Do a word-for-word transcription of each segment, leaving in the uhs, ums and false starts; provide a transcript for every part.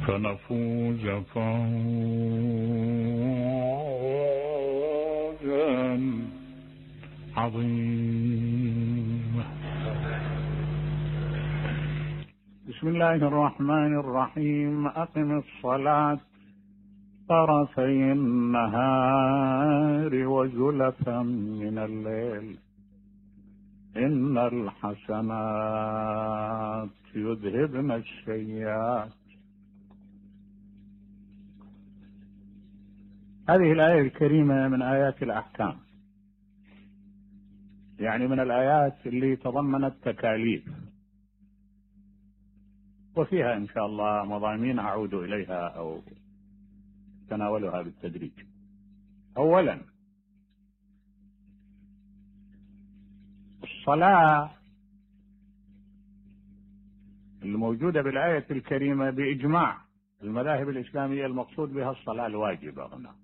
فنفوز فوزا عظيما. بسم الله الرحمن الرحيم. أقم الصلاة طرفي النهار وزلفا من الليل إن الحسنات يذهبن السيئات. هذه الآية الكريمة من آيات الأحكام، يعني من الآيات اللي تضمنت تكاليف، وفيها إن شاء الله مضامين أعود إليها أو تناولها بالتدريج. أولا، الصلاة الموجودة بالآية الكريمة بإجماع المذاهب الإسلامية المقصود بها الصلاة الواجبة هنا.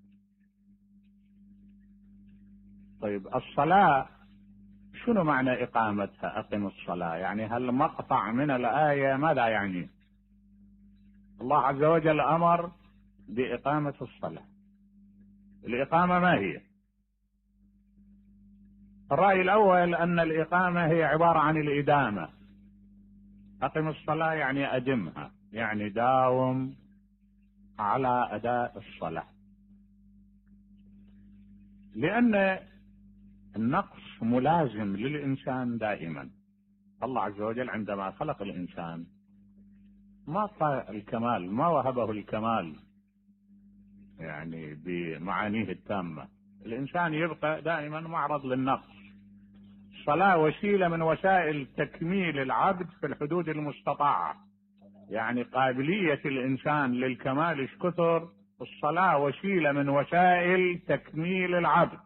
طيب، الصلاة شنو معنى إقامتها؟ أقم الصلاة، يعني هل مقطع من الآية ماذا يعني؟ الله عز وجل أمر بإقامة الصلاة. الإقامة ما هي؟ الرأي الأول أن الإقامة هي عبارة عن الإدامة. أقم الصلاة يعني أدمها، يعني داوم على أداء الصلاة، لأن النقص ملازم للإنسان دائما. الله عز وجل عندما خلق الإنسان ما أعطى الكمال، ما وهبه الكمال يعني بمعانيه التامة. الإنسان يبقى دائما معرض للنقص. الصلاة وسيلة من وسائل تكميل العبد في الحدود المستطاعة، يعني قابلية الإنسان للكمال ايش كثر. الصلاة وسيلة من وسائل تكميل العبد.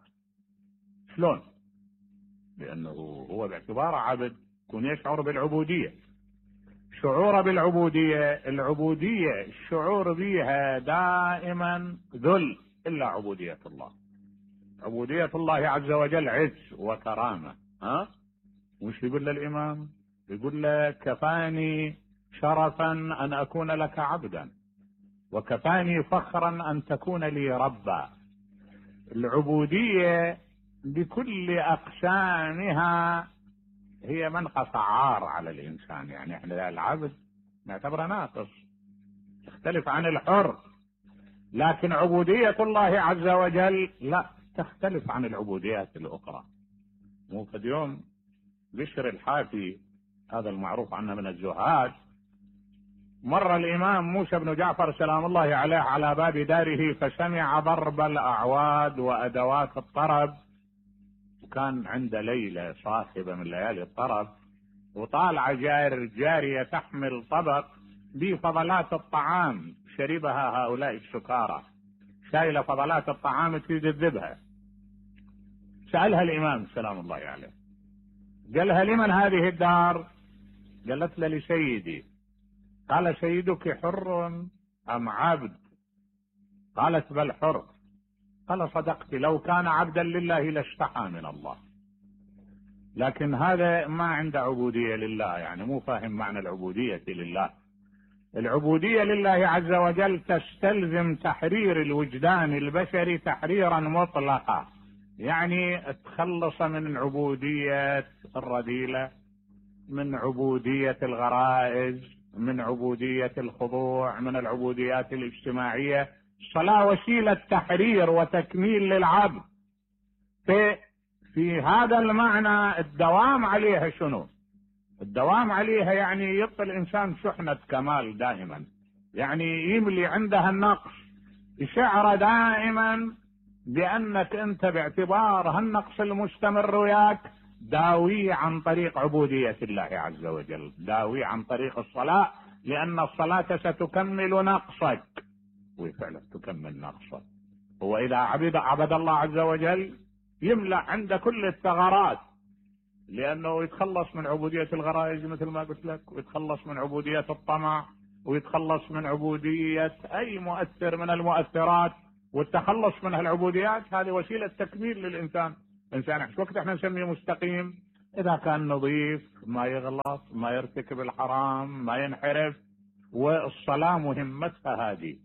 شلون؟ لأنه هو باعتباره عبد يكون يشعر بالعبودية. شعور بالعبودية، العبودية الشعور بها دائما ذل، إلا عبودية الله. عبودية الله عز وجل عز وكرامة. ها؟ وش يقول للإمام؟ يقول له كفاني شرفا أن أكون لك عبدا، وكفاني فخرا أن تكون لي ربا. العبودية بكل أقسامها هي منقص عار على الإنسان، يعني احنا العبد نعتبره ناقص، تختلف عن الحر. لكن عبودية الله عز وجل لا، تختلف عن العبوديات الأخرى. مو في يوم بشر الحافي، هذا المعروف عنه من الزهاد، مر الإمام موسى بن جعفر سلام الله عليه على باب داره فسمع ضرب الأعواد وأدوات الطرب، وكان عند ليلة صاخبة من ليالي الطرب، وطالع جار جارية تحمل طبق بفضلات الطعام شربها هؤلاء السكارى، شايلة فضلات الطعام تريد تذبها. سألها الإمام سلام الله عليه، قالها لمن هذه الدار؟ قالت له لسيدي. قال سيدك حر أم عبد؟ قالت بل حر. قال صدقت، لو كان عبدا لله لاستحى من الله. لكن هذا ما عنده عبودية لله، يعني مو فاهم معنى العبودية لله. العبودية لله عز وجل تستلزم تحرير الوجدان البشري تحريرا مطلقا، يعني تخلص من عبودية الرذيلة، من عبودية الغرائز، من عبودية الخضوع، من العبوديات الاجتماعية. الصلاة وسيلة تحرير وتكميل للعبد. في, في هذا المعنى الدوام عليها شنو؟ الدوام عليها يعني يبقى الإنسان شحنة كمال دائما، يعني يملي عندها النقص، يشعر دائما بأنك أنت باعتبار هالنقص المستمر وياك داوي عن طريق عبودية الله عز وجل، داوي عن طريق الصلاة، لأن الصلاة ستكمل نقصك، وفعلا تكمل نقصك. هو إذا عبد عبد الله عز وجل يملأ عند كل الثغرات، لأنه يتخلص من عبودية الغرائز مثل ما قلت لك، ويتخلص من عبودية الطمع، ويتخلص من عبودية أي مؤثر من المؤثرات. والتخلص من هالعبوديات هذه وسيلة تكميل للإنسان. إنسان وقت احنا نسميه مستقيم إذا كان نظيف، ما يغلط، ما يرتكب الحرام، ما ينحرف، والصلاة مهمتها هذه.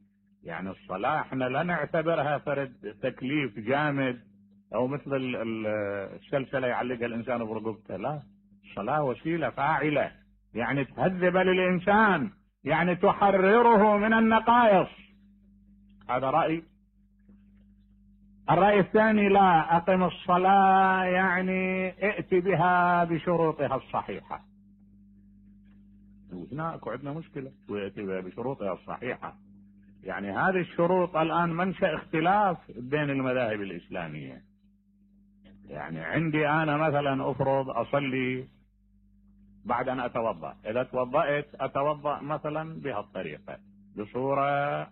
يعني الصلاة احنا لا نعتبرها فرد تكليف جامد او مثل السلسلة يعلقها الانسان برقبته، لا، الصلاة وسيلة فاعلة، يعني تهذب للانسان، يعني تحرره من النقائص. هذا رأي. الرأي الثاني: لا، أقم الصلاة يعني ائت بها بشروطها الصحيحة. وهناك عندنا مشكلة، وائت بها بشروطها الصحيحة. يعني هذه الشروط الآن منشأ اختلاف بين المذاهب الإسلامية. يعني عندي أنا مثلا أفرض أصلي بعد أن أتوضأ، إذا توضأت أتوضأ مثلا بهالطريقة، بصورة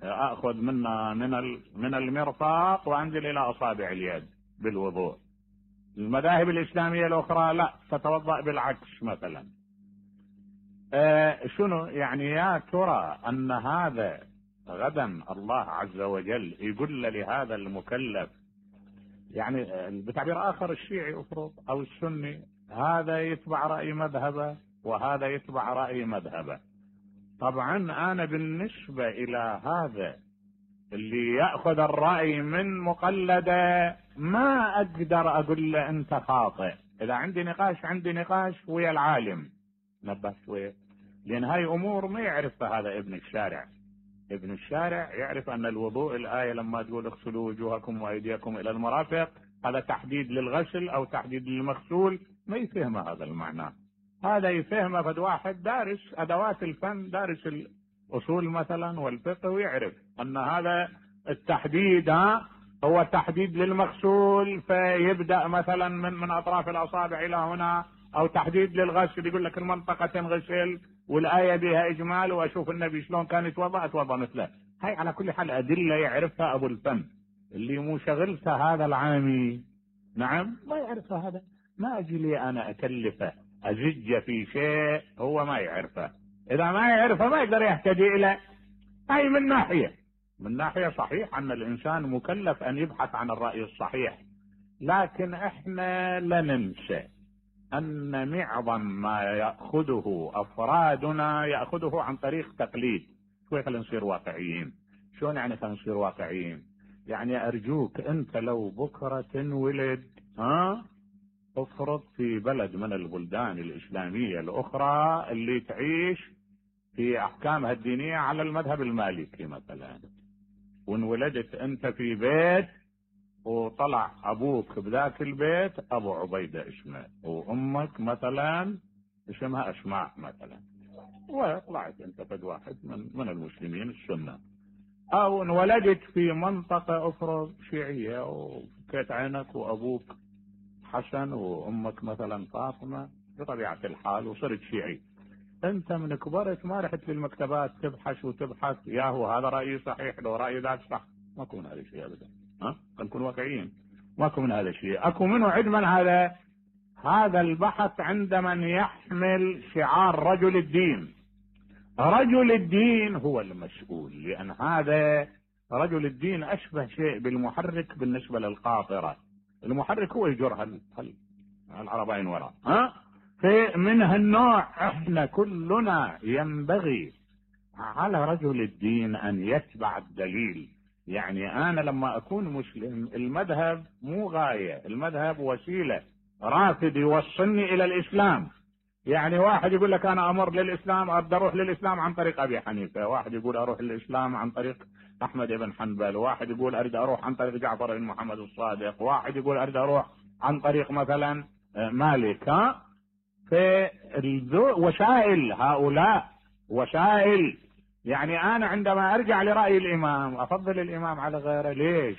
أخذ منها من من المرفق وأنزل إلى أصابع اليد بالوضوء. المذاهب الإسلامية الأخرى لا، تتوضأ بالعكس مثلا. آه شنو يعني؟ يا ترى أن هذا غدا الله عز وجل يقول لهذا المكلف، يعني بتعبير آخر الشيعي أفرض أو السني، هذا يتبع رأي مذهبه وهذا يتبع رأي مذهبه. طبعا أنا بالنسبة إلى هذا اللي يأخذ الرأي من مقلده ما أقدر أقول له أنت خاطئ. إذا عندي نقاش عندي نقاش ويا العالم، نبه شوية، لأن هاي أمور ما يعرفها هذا ابن الشارع. ابن الشارع يعرف أن الوضوء، الآية لما تقول اغسلوا وجوهكم وأيديكم إلى المرافق، هذا تحديد للغسل أو تحديد للمغسول، ما يفهم هذا المعنى. هذا يفهمه فد واحد دارس أدوات الفن، دارس الأصول مثلا والفقه، ويعرف أن هذا التحديد هو تحديد للمغسول، فيبدأ مثلا من من أطراف الأصابع إلى هنا، أو تحديد للغسل يقول لك المنطقة تنغسل والآية بها إجمال، وأشوف النبي شلون كان يتوضأ أتوضأ مثله. هاي على كل حال أدلة يعرفها أبو الفن، اللي مو شغلته هذا العامي، نعم، ما يعرفها. هذا ما أجي لي أنا أكلفه أزج في شيء هو ما يعرفه. إذا ما يعرفه ما يقدر يهتدي إليه. هاي من ناحية من ناحية صحيح أن الإنسان مكلف أن يبحث عن الرأي الصحيح، لكن إحنا لا ننسى أن معظم ما يأخذه أفرادنا يأخذه عن طريق تقليد. شوي خلينا نصير واقعيين. شلون يعني خلينا نصير واقعيين؟ يعني أرجوك أنت لو بكرة تنولد ها افرض في بلد من البلدان الإسلامية الأخرى اللي تعيش في أحكامها الدينية على المذهب المالكي مثلا، وانولدت أنت في بيت وطلع أبوك بذاك البيت أبو عبيدة اسمه، وأمك مثلا اسمها أسماء مثلا، وطلعت أنت فد واحد من, من المسلمين السنة، أو انولدت في منطقة أفرض شيعية وفكيت عينك وأبوك حسن وأمك مثلا فاطمة بطبيعة الحال وصرت شيعي. أنت من كبرت ما رحت للمكتبات تبحث وتبحث يا هو هذا رأيي صحيح لو رأيي ذاك صح. ما يكون هذا الشيء أبدا. ها نكون واقعيين، ما اكو من هذا الشيء. اكو منه عدما هذا هذا البحث عند من يحمل شعار رجل الدين. رجل الدين هو المسؤول، لان هذا رجل الدين اشبه شيء بالمحرك بالنسبة للقاطرة. المحرك هو يجر هال العربين وراء. ها فمن هالنوع احنا كلنا ينبغي على رجل الدين ان يتبع الدليل. يعني انا لما اكون مسلم المذهب مو غاية، المذهب وسيلة، رافد يوصلني الى الاسلام. يعني واحد يقول لك انا امر للاسلام، ابدا اروح للاسلام عن طريق ابي حنيفة، واحد يقول اروح للاسلام عن طريق احمد بن حنبل، واحد يقول اريد اروح عن طريق جعفر بن محمد الصادق، واحد يقول اريد اروح عن طريق مثلا مالك. ها وسائل، هؤلاء وسائل. يعني انا عندما ارجع لرأي الامام افضل الامام على غيره. ليش؟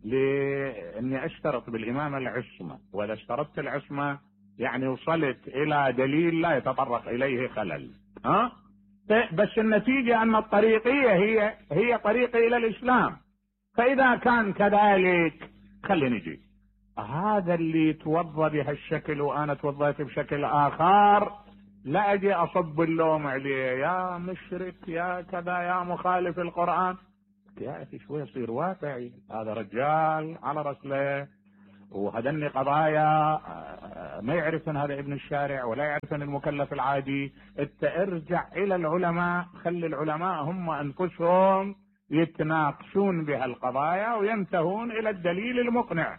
لاني اشترط بالامام العصمة، واذا اشترطت العصمة يعني وصلت الى دليل لا يتطرق اليه خلل. ها بس النتيجة ان الطريقية هي هي طريقي الى الاسلام. فاذا كان كذلك خلي نجي هذا اللي يتوضى بهالشكل وانا توضيت بشكل اخر، لا اجي اصب اللوم عليه يا مشرك يا كذا يا مخالف القرآن. يا اخي شوي يصير واقعي. هذا رجال على رسله وهذني قضايا ما يعرفن هذا ابن الشارع ولا يعرفن المكلف العادي. انت ارجع الى العلماء، خلي العلماء هم انفسهم يتناقشون بهالقضايا وينتهون الى الدليل المقنع.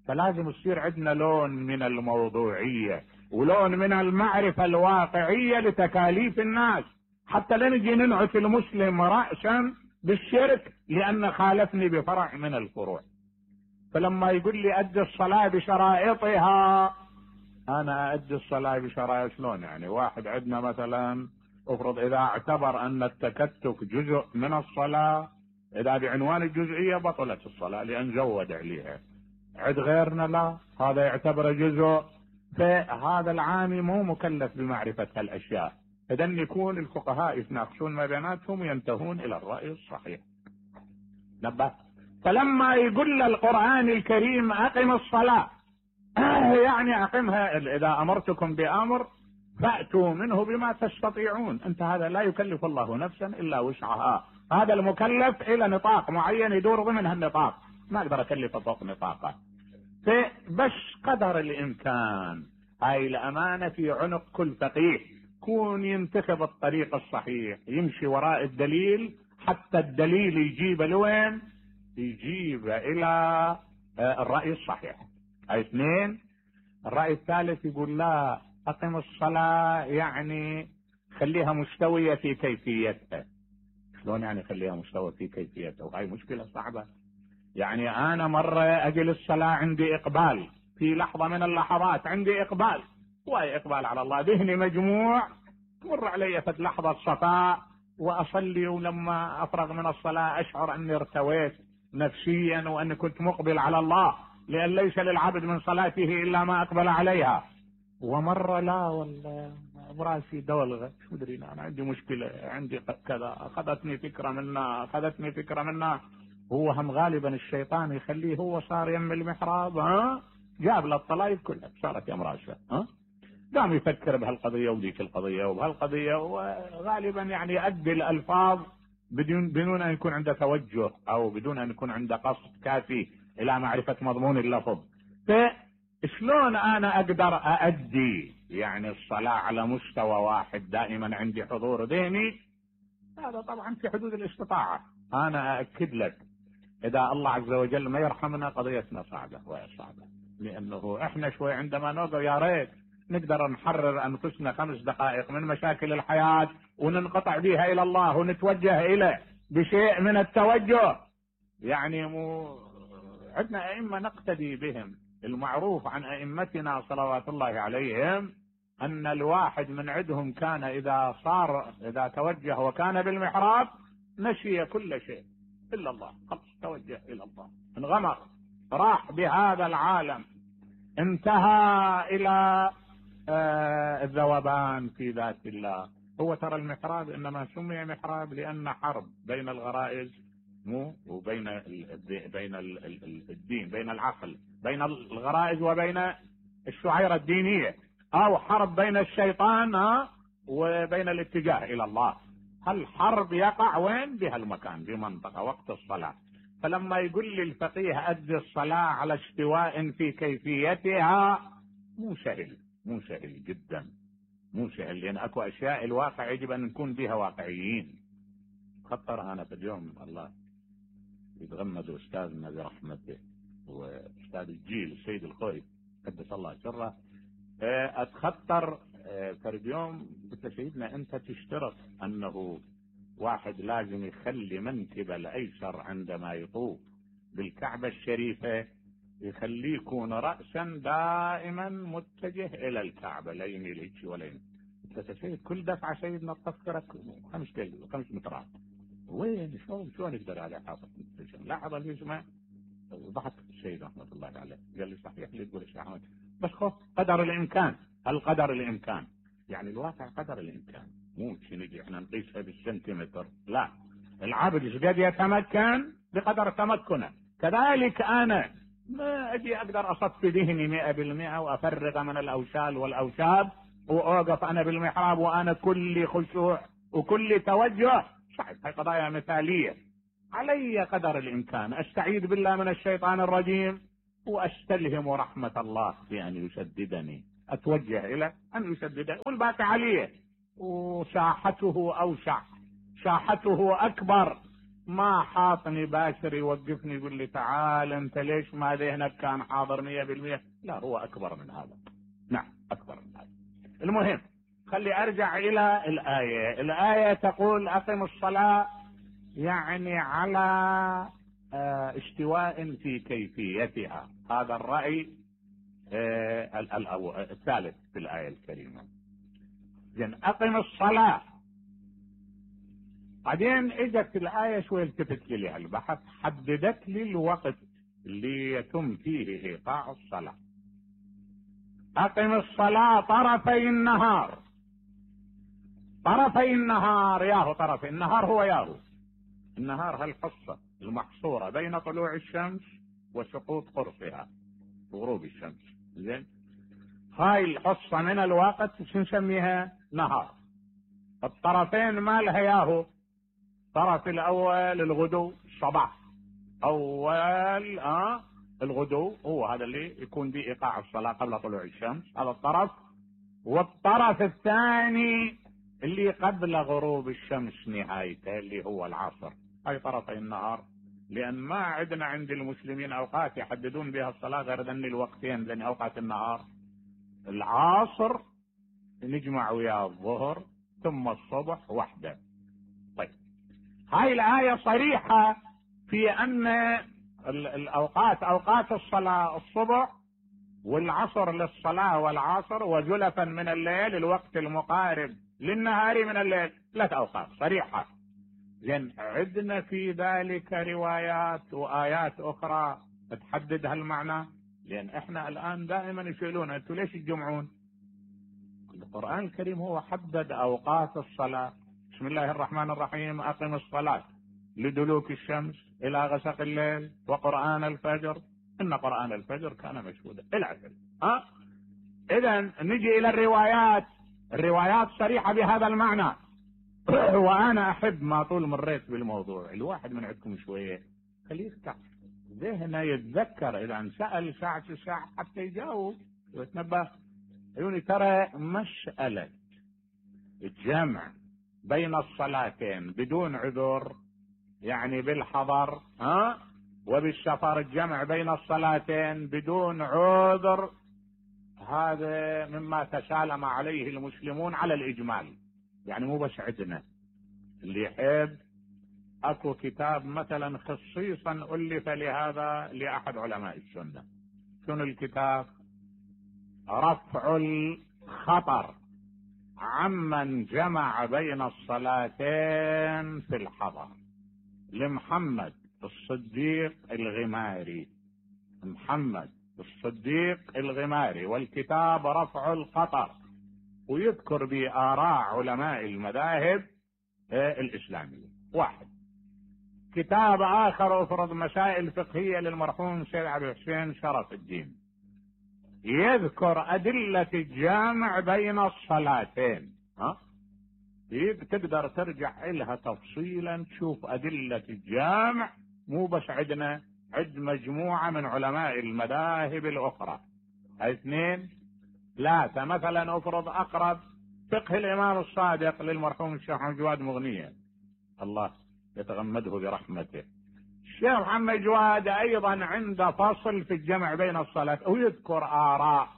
فلازم يصير عندنا لون من الموضوعية ولون من المعرفة الواقعية لتكاليف الناس، حتى لا نجي ننعت المسلم رأسا بالشرك لأن خالفني بفرع من الفروع. فلما يقول لي أدي الصلاة بشرائطها، أنا أدي الصلاة بشرائط شلون؟ يعني واحد عندنا مثلا افرض إذا اعتبر أن التكتك جزء من الصلاة، إذا بعنوان الجزئية بطلت الصلاة لأن زود عليها. عد غيرنا لا، هذا يعتبر جزء. فهذا العامي مو مكلف بمعرفة هالأشياء. إذن يكون الفقهاء يتناقشون ما بيناتهم وينتهون إلى الرأي الصحيح. نبه. فلما يقول القرآن الكريم أقم الصلاة، يعني أقمها، إذا أمرتكم بأمر فأتوا منه بما تستطيعون. أنت هذا لا يكلف الله نفسا إلا وسعها. هذا المكلف إلى نطاق معين يدور ضمن هالنطاق، ما أقدر أكلفه فوق نطاقه. بس قدر الإمكان هاي الأمانة في عنق كل فقيه، كون ينتخب الطريق الصحيح، يمشي وراء الدليل حتى الدليل يجيب لوين؟ يجيب إلى الرأي الصحيح. هاي اثنين. الرأي الثالث يقول لا، أقم الصلاة يعني خليها مستوية في كيفيتها. شلون يعني خليها مستوى في كيفيتها؟ وهاي مشكلة صعبة. يعني أنا مرة أجل الصلاة عندي إقبال، في لحظة من اللحظات عندي إقبال، وهي إقبال على الله، ذهني مجموع، تمر علي في لحظة صفاء وأصلي، ولما أفرغ من الصلاة أشعر أني ارتويت نفسيا وأني كنت مقبل على الله، لأن ليس للعبد من صلاته إلا ما أقبل عليها. ومرة لا، ولا براسي دولغة، شو أدري أنا عندي مشكلة، عندي كذا، أخذتني فكرة منها أخذتني فكرة منها هو هم غالبا الشيطان يخليه هو صار يم المحراب، ها جاب له الطلايب كلها صارت يم راسه، ها قام يفكر بهالقضية وذيك القضية وبهالقضية، وغالبا يعني يؤدي الألفاظ بدون بدون أن يكون عنده توجه أو بدون أن يكون عنده قصد كافي إلى معرفة مضمون اللفظ. فشلون أنا أقدر أؤدي يعني الصلاة على مستوى واحد دائما عندي حضور ذهني؟ هذا طبعا في حدود الاستطاعة. أنا أأكد لك إذا الله عز وجل ما يرحمنا قضيتنا صعبة وهي صعبة، لأنه إحنا شوي عندما نوقف يا ريت نقدر نحرر أنفسنا خمس دقائق من مشاكل الحياة وننقطع بها إلى الله ونتوجه إليه بشيء من التوجه. يعني مو عندنا أئمة نقتدي بهم، المعروف عن أئمتنا صلوات الله عليهم أن الواحد من عندهم كان إذا صار إذا توجه وكان بالمحراب نسي كل شيء إلا الله، خلص توجه إلى الله، انغمر، راح بهذا العالم، انتهى إلى آه الذوبان في ذات الله. هو ترى المحراب إنما سمي محراب لأن حرب بين الغرائز مو وبين بين الدين، بين العقل، بين الغرائز وبين الشعيرة الدينية، أو حرب بين الشيطان وبين الاتجاه إلى الله. الحرب يقع وين؟ بهالمكان، بمنطقة وقت الصلاة. فلما يقول لي الفقيه أدي الصلاة على استواء في كيفيتها، مو سهل، مو سهل جدا، مو سهل، لأن أكو أشياء الواقع يجب أن نكون بها واقعيين. خطر أنا في اليوم الله يتغمد أستاذنا برحمته وأستاذ الجيل السيد الخوي قدس الله سره، أتخطر فرد يوم قلت له سيدنا أنت تشترط أنه واحد لازم يخلي منكب الأيسر عندما يطوف بالكعبة الشريفة يخليه يكون رأسا دائما متجه إلى الكعبة، لا يميل هيك ولا يميل. قلت له سيد كل دفعة سيدنا تفكرك خمس خمس مترات، وين شلون شلون يقدر على حافظ لاحظ الجسم. ضحك السيد رحمة الله عليه قال لي صحيح اللي تقول الشيخ احمد، بس خف قدر الامكان، القدر الامكان، يعني الواقع قدر الامكان، مو نجي احنا نقيسها بالسنتيمتر، لا، العبد ايش قد يتمكن بقدر تمكنه. كذلك انا ما اجي اقدر اصفي ذهني مئة بالمئة وافرغ من الاوشال والاوشاب واوقف انا بالمحراب وانا كل خشوع وكل توجه، صحيح هاي قضايا مثالية. علي قدر الامكان استعيذ بالله من الشيطان الرجيم واستلهم رحمة الله في ان يسددني، اتوجه الى ان يسددني، والباقي عليه. وساحته اوسع، ساحته اكبر، ما حاطني باشر يوقفني يقول لي تعال انت ليش ما ذهنك كان حاضر مية بالمية. لا، هو اكبر من هذا. نعم اكبر من هذا. المهم خلي ارجع الى الايه. الايه تقول اقم الصلاه، يعني على استواء في كيفيتها. هذا الراي الثالث في الايه الكريمه. زين، اقم الصلاه. بعدين اجت الايه شوي التفت لي البحث، حددت لي الوقت اللي يتم فيه ايقاع الصلاه. اقم الصلاه طرفي النهار. طرفي النهار، ياهو طرفي النهار هو ياهو النهار، هالحصه المحصوره بين طلوع الشمس وسقوط قرصها وغروب الشمس. زين، هاي الحصه من الوقت شو نسميها؟ نهار. الطرفين مالها ياهو؟ الطرف الاول الغدو، الصباح، اول اه الغدو هو هذا اللي يكون به ايقاع الصلاه قبل طلوع الشمس، هذا الطرف. والطرف الثاني اللي قبل غروب الشمس نهايته اللي هو العصر. هاي طرفي النهار، لان ما عندنا عند المسلمين اوقات يحددون بها الصلاه غير ذن الوقتين، ذن اوقات النهار. العصر نجمع وياه الظهر، ثم الصبح وحده. طيب، هاي الآية صريحة في أن الأوقات أوقات الصلاة الصبح والعصر للصلاة والعصر، وزلفا من الليل الوقت المقارب للنهار من الليل، ثلاث أوقات صريحة. لأن عندنا في ذلك روايات وآيات أخرى تحدد هالمعنى. لأن إحنا الآن دائما يسألون أنتوا ليش تجمعون؟ القرآن الكريم هو حدد أوقات الصلاة. بسم الله الرحمن الرحيم، أقم الصلاة لدلوك الشمس إلى غسق الليل وقرآن الفجر إن قرآن الفجر كان مشهودا إلى آخره. أه؟ إذا نجي إلى الروايات. الروايات صريحة بهذا المعنى. وأنا أحب ما طول مريت بالموضوع، الواحد من عندكم شوية خليه يفتح ذهنه يتذكر إذا انسأل ساعة الساعة حتى يجاوب ويتنبه. عيوني، ترى مسألة الجمع بين الصلاتين بدون عذر، يعني بالحضر ها وبالسفر، الجمع بين الصلاتين بدون عذر، هذا مما تسالم عليه المسلمون على الإجمال. يعني مو بس عندنا، اللي يحب اكو كتاب مثلا خصيصا ألف لهذا لأحد علماء السنة. شنو الكتاب؟ رفع الخطر عمن جمع بين الصلاتين في الحضر، لمحمد الصديق الغماري. محمد الصديق الغماري، والكتاب رفع الخطر، ويذكر بآراء علماء المذاهب الإسلامية. واحد. كتاب آخر أفرض مسائل فقهية للمرحوم سيد عبد الحسين شرف الدين، يذكر أدلة الجامع بين الصلاتين. ها تقدر ترجع لها تفصيلا تشوف أدلة الجامع، مو بس عندنا، عد مجموعة من علماء المذاهب الأخرى. اثنين. ثلاثة. مثلا أفرض أقرب فقه الإمام الصادق للمرحوم الشيخ محمد جواد مغنية، الله يتغمده برحمته. الشيخ محمد جواد أيضا عنده فصل في الجمع بين الصلاة، ويذكر آراء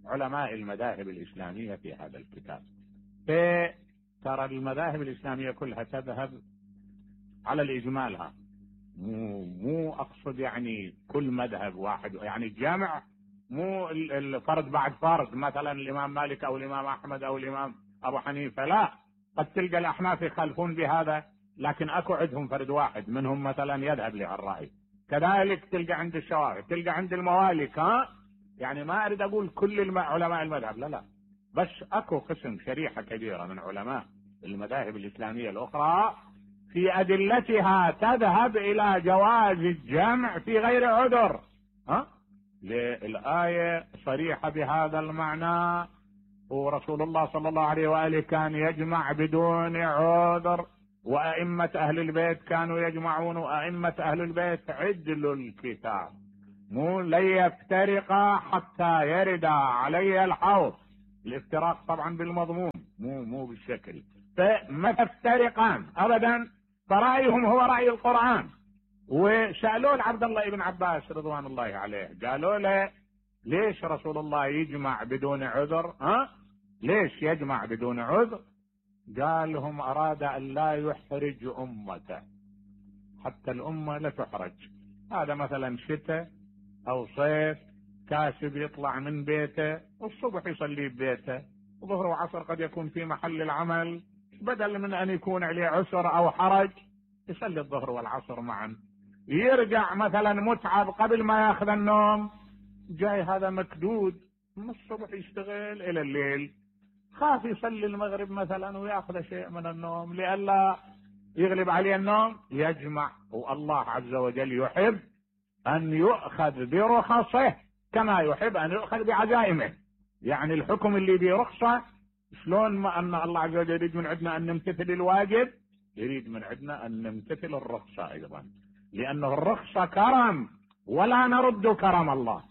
علماء المذاهب الإسلامية في هذا الكتاب. ترى المذاهب الإسلامية كلها تذهب على الإجمالها، مو, مو أقصد يعني كل مذهب واحد، يعني الجامع مو الفرد بعد فرد، مثلا الإمام مالك أو الإمام أحمد أو الإمام أبو حنيفة، لا، قد تلقى الأحناف يخالفون بهذا، لكن أكو عندهم فرد واحد منهم مثلا يذهب لهالرأي. كذلك تلقى عند الشوافعي، تلقى عند الموالك. ها يعني ما أريد أقول كل علماء المذهب، لا لا، بس أكو قسم شريحة كبيرة من علماء المذاهب الإسلامية الأخرى في أدلتها تذهب إلى جواز الجمع في غير عذر. ها الآية صريحة بهذا المعنى، ورسول الله صلى الله عليه وآله كان يجمع بدون عذر، وأئمة أهل البيت كانوا يجمعون، وأئمة أهل البيت عدلوا الكتاب. مو لن يفترقا حتى يرد علي الحوض. الافتراق طبعا بالمضمون مو مو بالشكل. فما تفترقان ابدا، فرأيهم هو رأي القرآن. وسألوا عبد الله بن عباس رضوان الله عليه، قالوا له ليش رسول الله يجمع بدون عذر؟ ها ليش يجمع بدون عذر؟ قال لهم اراد ان لا يحرج امته، حتى الامه لا تحرج. هذا مثلا شتاء او صيف، كاسب يطلع من بيته والصبح يصلي ببيته، وظهر وعصر قد يكون في محل العمل، بدل من ان يكون عليه عسر او حرج يصلي الظهر والعصر معا. يرجع مثلا متعب قبل ما ياخذ النوم، جاي هذا مكدود من الصبح يشتغل الى الليل، خاف يصلي المغرب مثلا وياخذ شيء من النوم لئلا يغلب عليه النوم، يجمع. والله عز وجل يحب ان يؤخذ برخصه كما يحب ان يؤخذ بعزائمه. يعني الحكم اللي برخصة، شلون ما ان الله عز وجل يريد من عندنا ان نمتثل الواجب، يريد من عندنا ان نمتثل الرخصة ايضا، لانه الرخصة كرم ولا نرد كرم الله.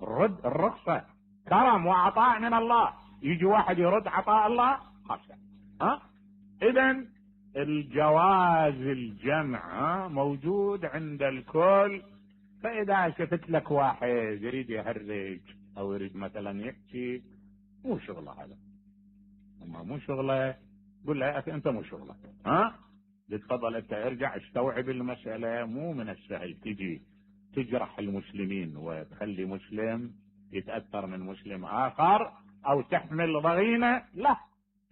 الرد الرخصة كرم وعطاء من الله، يجي واحد يرد عطاء الله خاصة. ها اذا الجواز الجمع موجود عند الكل. فاذا شفت لك واحد يريد يهرج او يريد مثلا يحكي، مو شغله هذا، اما مو شغله قل له يا اخي انت مو شغلك، ها تفضل انت ارجع استوعب المساله. مو من السهل تجي تجرح المسلمين وتخلي مسلم يتاثر من مسلم اخر او تحمل ضغينه، لا،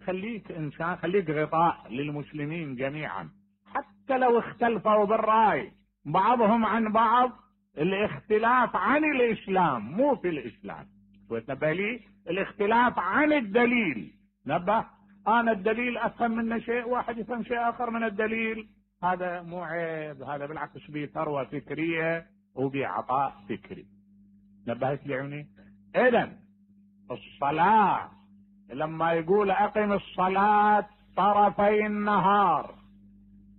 خليك انسان، خليك غطاء للمسلمين جميعا حتى لو اختلفوا بالراي بعضهم عن بعض. الاختلاف عن الاسلام مو في الاسلام، وتنبه لي الاختلاف عن الدليل. نبه انا الدليل افهم منه شيء، واحد يفهم شيء اخر من الدليل، هذا مو عيب، هذا بالعكس به ثروه فكريه وبعطاء فكري. نبهت لي عيوني؟ اذا الصلاه لما يقول اقم الصلاه طرفي النهار،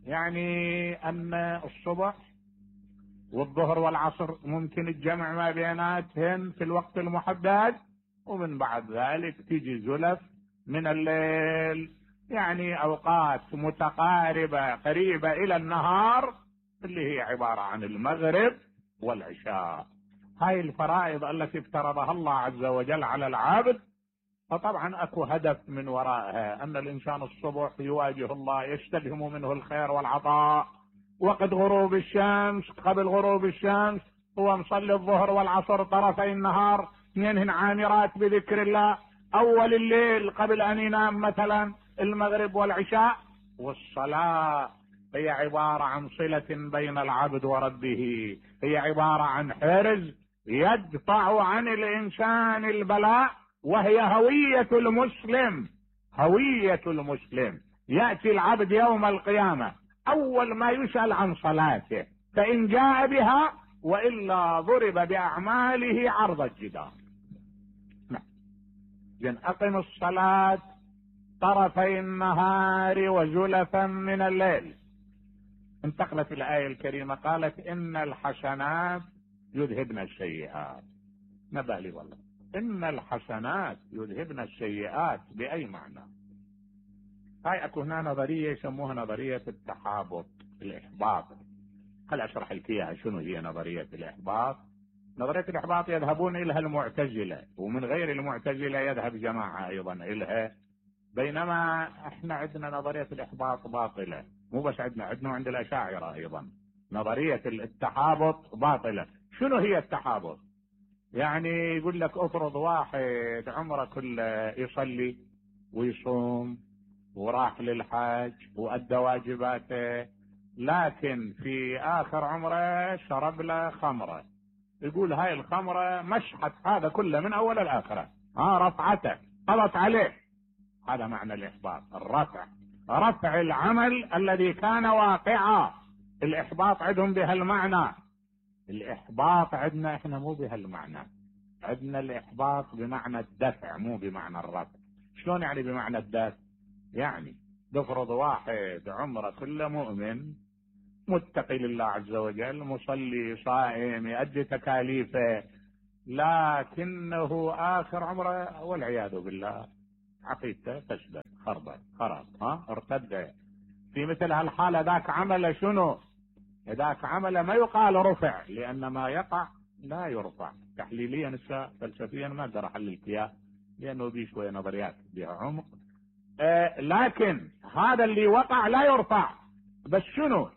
يعني ان الصبح والظهر والعصر ممكن الجمع ما بيناتهن في الوقت المحدد، ومن بعد ذلك تيجي زلف من الليل، يعني اوقات متقاربة قريبة الى النهار اللي هي عبارة عن المغرب والعشاء. هاي الفرائض التي افترضها الله عز وجل على العبد، فطبعا اكو هدف من ورائها، ان الانسان الصبح يواجه الله يستلهم منه الخير والعطاء، وقت غروب الشمس قبل غروب الشمس هو مصلي الظهر والعصر طرفي النهار، اثنينهن عامرات بذكر الله، اول الليل قبل ان ينام مثلا المغرب والعشاء. والصلاة هي عبارة عن صلة بين العبد وربه، هي عبارة عن حرز يدفع عن الانسان البلاء، وهي هوية المسلم. هوية المسلم يأتي العبد يوم القيامة اول ما يسأل عن صلاته، فان جاء بها والا ضرب باعماله عرض الجدار. نعم. اقم الصلاة طرفي النهار وزلفا من الليل. انتقلت الآية الكريمة قالت ان الحسنات يذهبن السيئات. نبه لي والله، ان الحسنات يذهبن السيئات بأي معنى؟ هاي اكو هنا نظرية يسموها نظرية التحابط، الاحباط. هل اشرح لك اياها شنو هي نظرية الاحباط؟ نظرية الاحباط يذهبون الها المعتزلة، ومن غير المعتزلة يذهب جماعة ايضا الها، بينما احنا عندنا نظرية الاحباط باطلة. مو بس عندنا، عندنا عند الاشاعرة ايضا نظرية التحابط باطلة. شنو هي التحابط؟ يعني يقول لك افرض واحد عمره كله يصلي ويصوم وراح للحج وادى واجباته، لكن في اخر عمره شرب له خمره، يقول هاي الخمره مشحت هذا كله من اول الاخره، ها رفعته قضت عليه. هذا معنى الاحباط، الرفع، رفع العمل الذي كان واقعا. الاحباط عندهم بهالمعنى. الاحباط عندنا احنا مو بهالمعنى، عندنا الاحباط بمعنى الدفع مو بمعنى الرفع. شلون يعني بمعنى الدفع؟ يعني بفرض واحد عمره كله مؤمن متقي لله عز وجل، مصلي صائم يؤدي تكاليفه، لكنه آخر عمره والعياذ بالله عقيدته فسدت خربت خرب ها ارتد. في مثل هالحالة ذاك عمل شنو؟ ذاك عمل ما يقال رفع، لأن ما يقع لا يرفع. تحليليا فلسفيا ما اقدر احلل اياه لأنه بيه شوية نظريات بها عمق، آه لكن هذا اللي وقع لا يرفع، بس شنو؟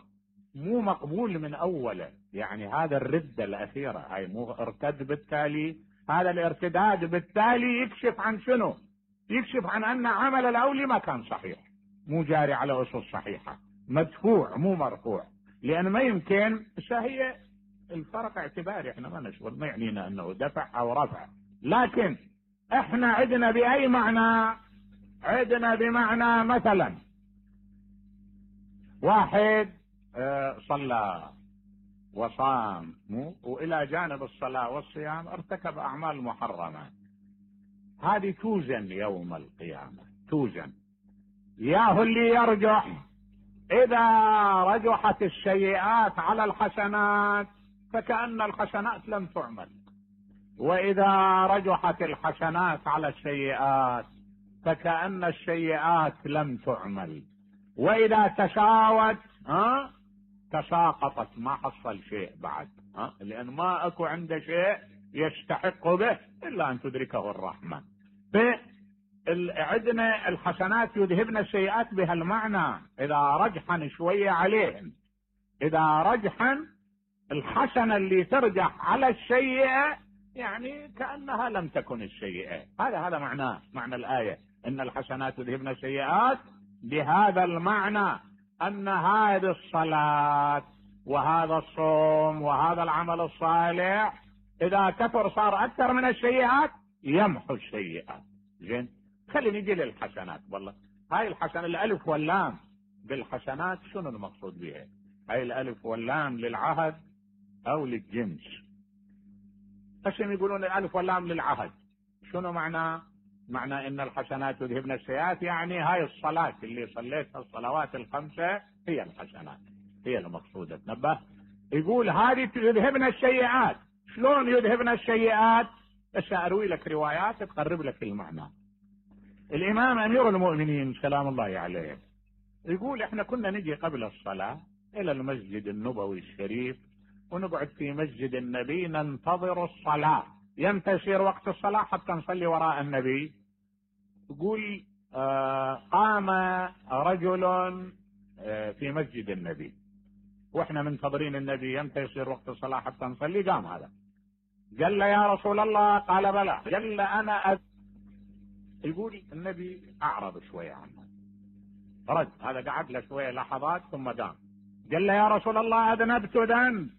مو مقبول من اوله. يعني هذا الردة الاخيرة هاي مو ارتد، بالتالي هذا الارتداد بالتالي يكشف عن شنو؟ يكشف عن ان عمل الاولي ما كان صحيح، مو جاري على اصول صحيحة، مدفوع مو مرفوع. لان ما يمكن، هي الفرق اعتباري، احنا ما نشغل، ما يعنينا انه دفع او رفع، لكن احنا عندنا باي معنى؟ عندنا بمعنى مثلا واحد صلى وصام والى جانب الصلاة والصيام ارتكب اعمال محرمة، هذه توزن يوم القيامة، توزن. ياهو اللي يرجح، اذا رجحت السيئات على الحسنات فكأن الحسنات لم تعمل، واذا رجحت الحسنات على السيئات فكأن السيئات لم تعمل، واذا تساوت ها تساقطت، ما حصل شيء بعد، ها لان ما اكو عنده شيء يستحق به الا ان تدركه الرحمة. عندنا الحسنات يذهبن السيئات بهالمعنى، اذا رجحن شوية عليهم، اذا رجحن الحسنة اللي ترجح على السيئة يعني كأنها لم تكن السيئة. هذا هذا معناه، معنى الآية ان الحسنات يذهبن السيئات، بهذا المعنى ان هذه الصلاة وهذا الصوم وهذا العمل الصالح اذا كثر صار اكثر من السيئات يمحو السيئات. زين، خلينا نجي للحسنات. والله هاي الحسنة الالف واللام بالحسنات شنو المقصود بها؟ هاي الالف واللام للعهد او للجنس؟ قسم يقولون الالف واللام للعهد. شنو معناه؟ معنى ان الحسنات يذهبن السيئات، يعني هاي الصلاة اللي صليتها، الصلوات الخمسة هي الحسنات، هي المقصودة. تنبه، يقول هذه يذهبن السيئات. شلون يذهبن السيئات؟ بس اروي لك روايات تقرب لك المعنى. الامام امير المؤمنين سلام الله عليه يقول احنا كنا نجي قبل الصلاة الى المسجد النبوي الشريف، ونقعد في مسجد النبي ننتظر الصلاة، يمتى يصير وقت الصلاة حتى نصلي وراء النبي. يقول آه قام رجل آه في مسجد النبي واحنا منتظرين النبي، يمتى يصير وقت الصلاة حتى نصلي؟ قام هذا قال له يا رسول الله، قال بلى، قال له انا أ... يقول النبي اعرض شوية عنه، رد هذا، قعد له شوية لحظات ثم قام قال له يا رسول الله اذنبت ذنب،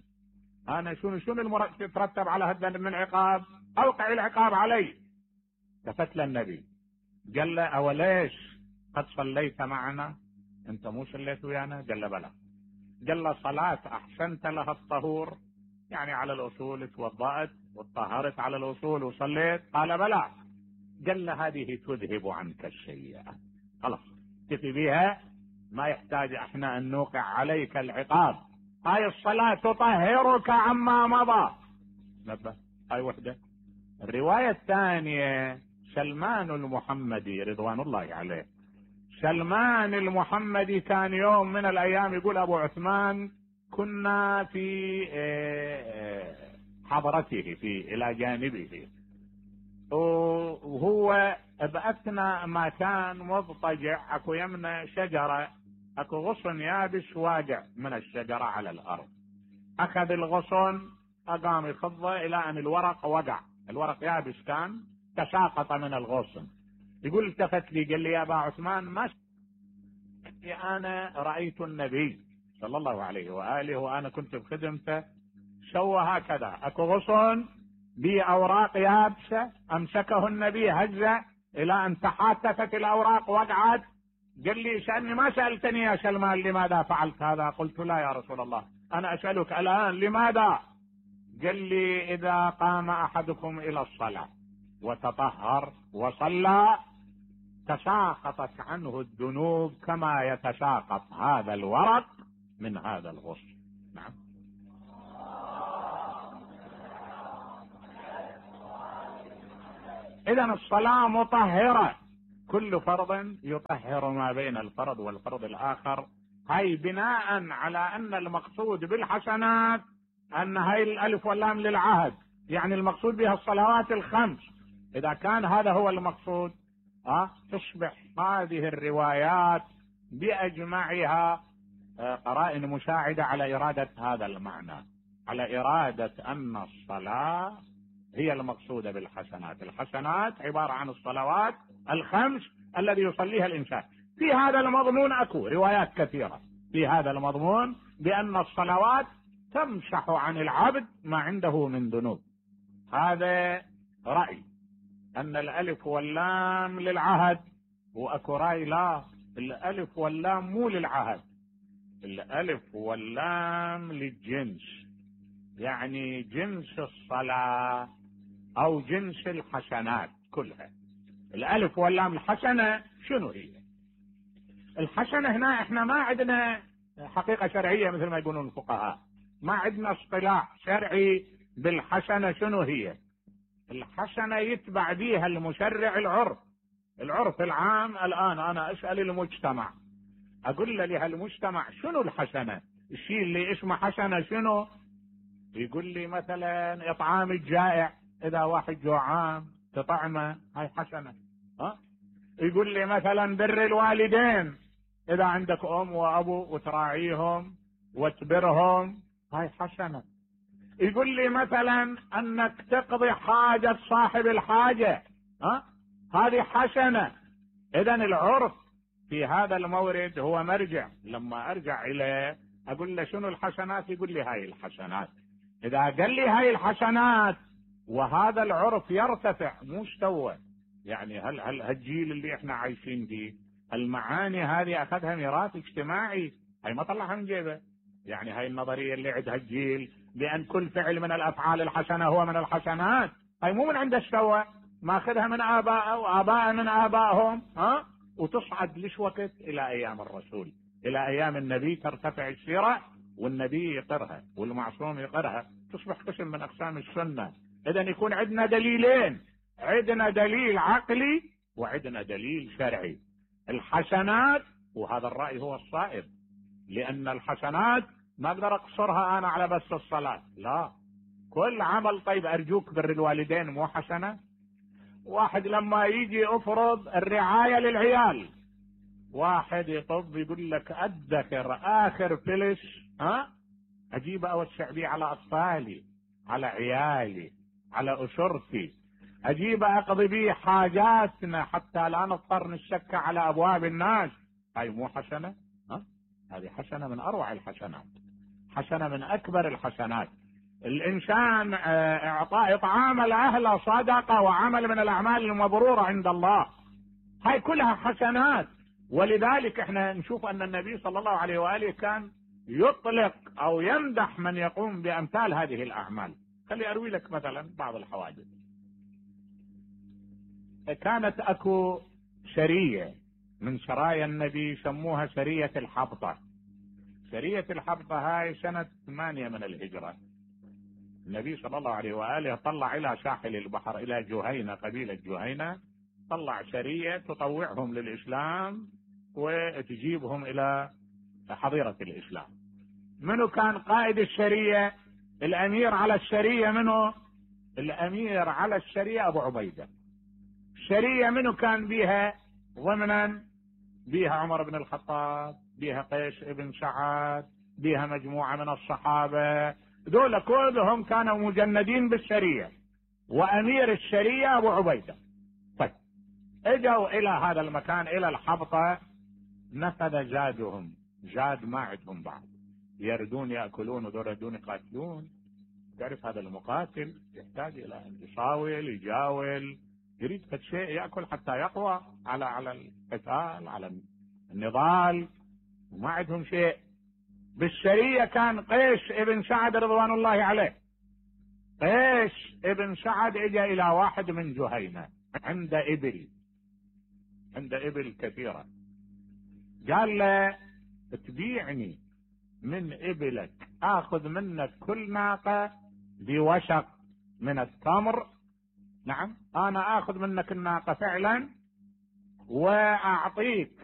انا شنو شنو المرتب يترتب على هالذنب من عقاب؟ اوقع العقاب علي. التفت له النبي قال له اوليش قد صليت معنا؟ انت مو صليت ويانا؟ قال له بلى. قال له صلاة احسنت لها الطهور، يعني على الاصول توضأت وطهرت على الاصول وصليت؟ قال بلى. قال له هذه تذهب عنك السيئة، خلاص تفي بها، ما يحتاج احنا ان نوقع عليك العقاب، هاي الصلاة تطهرك عما مضى. نبه، هاي وحدة. الرواية الثانية سلمان المحمدي رضوان الله عليه، سلمان المحمدي كان يوم من الايام يقول ابو عثمان كنا في حضرته، في الى جانبه، وهو بأثناء ما كان مضطجع اكو يمنى شجرة، اكو غصن يابس واقع من الشجرة على الارض، اخذ الغصن اقام يخضه الى ان الورق وقع، الورق يابس كان، تساقط من الغصن. يقول التفت لي قال لي يا ابا عثمان، ما انا رأيت النبي صلى الله عليه وآله وانا كنت بخدمته سوى هكذا، اكو غصن بأوراق يابسة امسكه النبي هزه الى ان تحاتفت الاوراق وقعت. قال لي شأني ما سألتني يا سلمان لماذا فعلت هذا؟ قلت لا يا رسول الله، انا اسألك الان لماذا؟ قال لي اذا قام احدكم الى الصلاة وتطهر وصلى تساقطت عنه الذنوب كما يتساقط هذا الورق من هذا الغصن. نعم. إذن الصلاة مطهرة، كل فرض يطهر ما بين الفرض والفرض الآخر، هاي بناء على أن المقصود بالحسنات أن هاي الألف واللام للعهد، يعني المقصود بها الصلوات الخمس. إذا كان هذا هو المقصود أه تصبح هذه الروايات بأجمعها قرائن مساعدة على إرادة هذا المعنى، على إرادة أن الصلاة هي المقصودة بالحسنات. الحسنات عبارة عن الصلوات الخمس الذي يصليها الإنسان. في هذا المضمون أكو روايات كثيرة في هذا المضمون بأن الصلوات تمسح عن العبد ما عنده من ذنوب. هذا رأي أن الألف واللام للعهد، وأكو رأي لا، الألف واللام مو للعهد، الألف واللام للجنس، يعني جنس الصلاة أو جنس الحسنات كلها. الألف واللام الحسنة شنو هي؟ الحسنة هنا احنا ما عندنا حقيقة شرعية مثل ما يقولون الفقهاء، ما عندنا اصطلاح شرعي بالحسنة. شنو هي الحسنة؟ يتبع بيها المشرع العرف، العرف العام. الآن أنا أسأل المجتمع، أقول له لهالمجتمع شنو الحسنة؟ الشيء اللي اسمه حسنة شنو؟ يقول لي مثلا إطعام الجائع، إذا واحد جوعان تطعمه، هاي حسنة. ها؟ يقول لي مثلا بر الوالدين، إذا عندك أم وأبو وتراعيهم وتبرهم، هاي حسنة. يقول لي مثلا أنك تقضي حاجة صاحب الحاجة، ها؟ هذه حسنة. إذن العرف في هذا المورد هو مرجع. لما أرجع إليه أقول له شنو الحسنات؟ يقول لي هاي الحسنات. إذا قال لي هاي الحسنات وهذا العرف يرتفع مستوى، يعني هل هل هالجيل اللي احنا عايشين فيه المعاني هذه أخذها ميراث اجتماعي، هاي ما طلعها من جيبه. يعني هاي النظرية اللي عندها الجيل بأن كل فعل من الأفعال الحسنة هو من الحسنات، هاي مو من عند السوى، ماخذها من آباء وآباء من آبائهم، ها؟ وتصعد ليش وقت؟ إلى أيام الرسول، إلى أيام النبي ترتفع السيرة، والنبي يقرها والمعصوم يقرها، تصبح قسم من أقسام السنة. إذن يكون عندنا دليلين، عندنا دليل عقلي وعندنا دليل شرعي. الحسنات، وهذا الرأي هو الصائب، لأن الحسنات ما أقدر أقصرها أنا على بس الصلاة، لا، كل عمل. طيب أرجوك بر الوالدين مو حسنة؟ واحد لما يجي أفرض الرعاية للعيال، واحد يطب يقول لك أدخر آخر فلس، ها، أجيب أوسع بيه على أطفالي، على عيالي، على أسرتي، أجيب أقضي بيه حاجاتنا حتى لا نضطر نشك على أبواب الناس. هاي مو حسنة؟ ها؟ هذه حسنة من أروع الحسنات، حسنة من أكبر الحسنات. الإنسان إعطاء إطعام الأهل صدقة وعمل من الأعمال المبرورة عند الله، هاي كلها حسنات. ولذلك احنا نشوف أن النبي صلى الله عليه وآله كان يطلق أو يمدح من يقوم بأمثال هذه الأعمال. خلي أروي لك مثلا بعض الحوادث. كانت أكو سرية من سرايا النبي يسموها سرية الحبطة. سرية الحبطة هاي سنة ثمانية من الهجرة. النبي صلى الله عليه وآله طلع إلى ساحل البحر، إلى جهينة، قبيلة جهينة، طلع سرية تطوعهم للإسلام وتجيبهم إلى حظيرة الإسلام. منو كان قائد السرية؟ الأمير على السرية منو؟ الأمير على السرية أبو عبيدة. السرية منو كان بيها ضمنا؟ بيها عمر بن الخطاب، بيها قيس ابن سعد، بيها مجموعة من الصحابة، دول كلهم كانوا مجندين بالسرية، وأمير السرية أبو عبيدة. طيب اجوا إلى هذا المكان، إلى الحبطة، نفذ زادهم، زاد ما عندهم بعض، يردون يأكلون ودول يردون يقاتلون. تعرف هذا المقاتل يحتاج إلى أن يصاول، يجاول، يريد فد شيء يأكل حتى يقوى على على القتال، على النضال، وما عندهم شيء. بالسرية كان قيس ابن سعد رضوان الله عليه. قيس ابن سعد اجى الى واحد من جهينة عند ابل، عند ابل كثيرة، قال له تبيعني من ابلك، اخذ منك كل ناقة بوشق من التمر. نعم، انا اخذ منك الناقة فعلا واعطيك